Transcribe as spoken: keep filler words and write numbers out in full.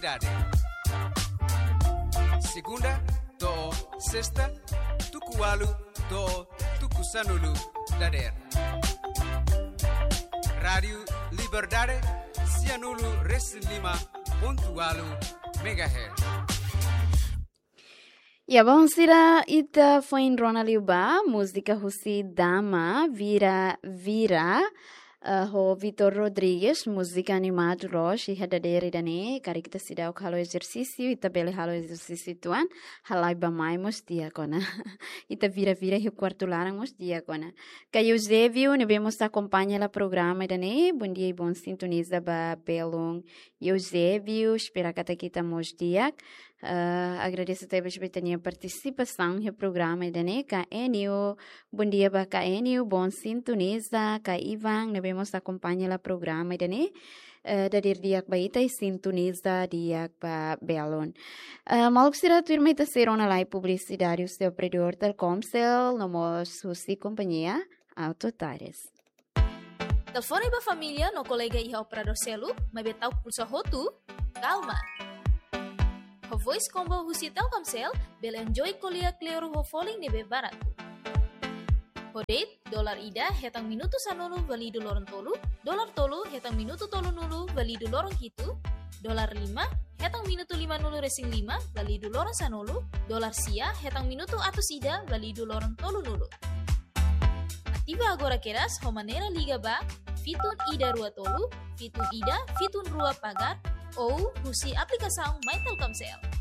Dade. Segunda to'o sesta, tuku ualu to'o tuku sanulu dadeer. Rádiu Liberdade, sianulu resin lima pontu ualu megahertz. Ya, bainhira ita foin rona liu ba múzika husi Dama, Vira Vira, eh, ho Vitor Rodrigues, múzika animadu loos, iha dadeer ida-ne'e, karik ita seidauk halo ezersísiu, ita bele halo ezersísiu uitoan, halai bá-mai mós di'ak ona. Ita vira-vira iha kuartu laran mós di'ak ona. Ka Eusébio, ne'ebé mós akompaña hela programa ida-ne'e, bondia i bon sintoniza ba belun Eusébio, espera katak ita mós di'ak. Eh, agradese tebes ba ita-nia partisipasaun iha programa ida-ne'e, ka Enio, bondia ba ka Enio, bon sintoniza, ka Ivan, ne'ebé mós akompaña hela programa ida-ne'e. Eh, dadeer di'ak ba ita i sintoniza di'ak ba belun. Eh, maluk sira, tuirmai ita sei rona lai publisidade husi operadór Telkomcel, no mós husi kompañia Auto Tares. Telefone ba família no kolega iha operadór seluk, maibé ta'uk pulsa hotu, kalma. Ho voice combo husi Telkomcel, bele enjoy ko'alia kleur ho folin ne'ebé baratu. Ho date, dolar ida hetan minutu sanulu válidu loron tolu, dolar tolu hetan minutu tolunulu válidu loron hitu, dolar lima hetan minutu limanulu resin lima válidu loron sanulu, dolar sia hetan minutu atus ida válidu loron tolunulu. Ativa agora kedas ho maneira liga ba fitun ida rua tolu, fitun ida, fitun rua pagar, ou husi aplikasaun My Telkomcel.